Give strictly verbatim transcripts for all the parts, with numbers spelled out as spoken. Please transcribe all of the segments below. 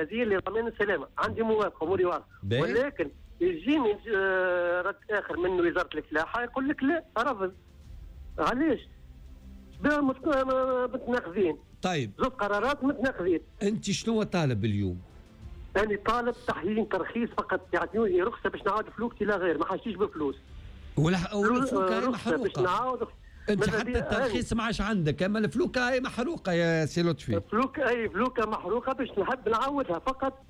المركزية لضمان السلامة، عندي موافقة اموري واضحة، ولكن يجيني رد اخر من وزارة الفلاحة يقول لك لا رفض. علاش؟ متناقضين. طيب زوج قرارات متناقضين. انت شنو طالب اليوم؟ انا طالب تحيين ترخيص فقط، يعطوني رخصه باش نعاود فلوكتي لا غير، ما حاجتيش بفلوس. ولا والفلوكه هي محروقة. باش نعاود انت حتى الترخيص ما عادش عندك، اما الفلوكه هي محروقة يا سي لطفي. فلوكه اي فلوكه محروقة باش نحب نعاودها فقط،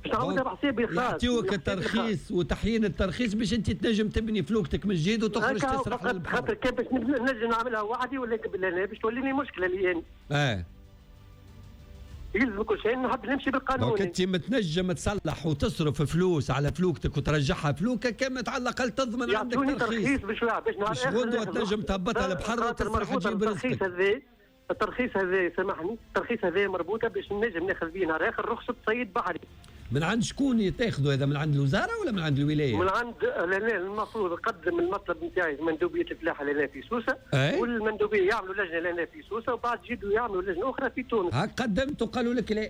باش نعاودها بحسابي الخاص. يعطيوك الترخيص وتحيين الترخيص باش انت تنجم تبني فلوكتك من جديد وتخرج تسرح للبحر. خاطر كان باش نجم نعملها وحدي ولا باش توليني مشكلة لي انا. اه يلزم كل شيء نحب نمشي بالقانون. donc انت متنجم تصلح وتصرف فلوس على فلوكتك وترجعها فلوكه كما على الاقل تضمن عندك ترخيص. ترخيص باش باش نهار غدوه تنجم تهبطها للبحر وتسرح تجيب رزقك. الترخيص هذا الترخيص هذا سامحني، الترخيص هذا مربوطة باش نجم ناخذ به نهار اخر رخصه صيد بحري. من عند شكون تاخذوا هذا؟ من عند الوزارة ولا من عند الولاية؟ من عند لا المفروض نقدم المطلب نتاعي لمندوبيه الفلاحة لنا في سوسة. أي؟ والمندوبيه يعملوا لجنة لنا في سوسة وبعد يجوا يعملوا لجنة اخرى في تونس. هاك قدمت وقالوا لك لا.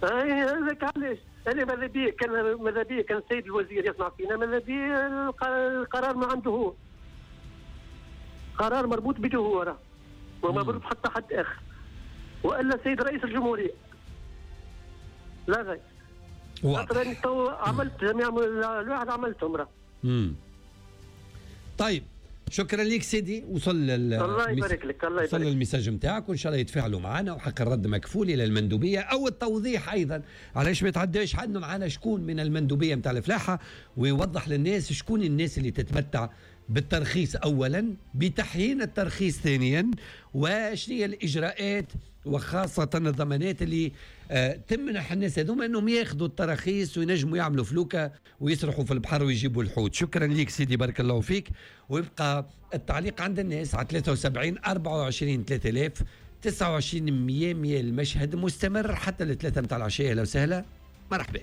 اي هذاك علاش انا ماذا بيا كان ماذا بيا كان السيد الوزير يسمع فينا، ماذا بيا القرار ما عنده هو. قرار مربوط بده هو راه وما مربوط حتى حد اخر. والا السيد رئيس الجمهورية. لا غير. خاطر انا تو عملت جميع الواحد عملتهم راه. امم طيب شكرا لك سيدي، وصل الله يبارك لك، الله يبارك وصل ال message نتاعك وان شاء الله يتفاعلوا معنا، وحق الرد مكفول الى المندوبيه او التوضيح ايضا علاش ما يتعداش عندنا معنا شكون من المندوبيه نتاع الفلاحة ويوضح للناس شكون الناس اللي تتمتع بالترخيص اولا، بتحيين الترخيص ثانيا، وشنو هي الاجراءات وخاصة الضمانات اللي آه تمنح الناس هذوما انهم ياخذوا التراخيص وينجموا يعملوا فلوكة ويسرحوا في البحر ويجيبوا الحوت. شكرا لك سيدي، بارك الله فيك. ويبقى التعليق عند الناس على ثلاثة وسبعين أربعة وعشرين ثلاثة آلاف تسعة وعشرين مية مية. المشهد مستمر حتى الثلاثة متاع العشية. لو سهلة مرحبا.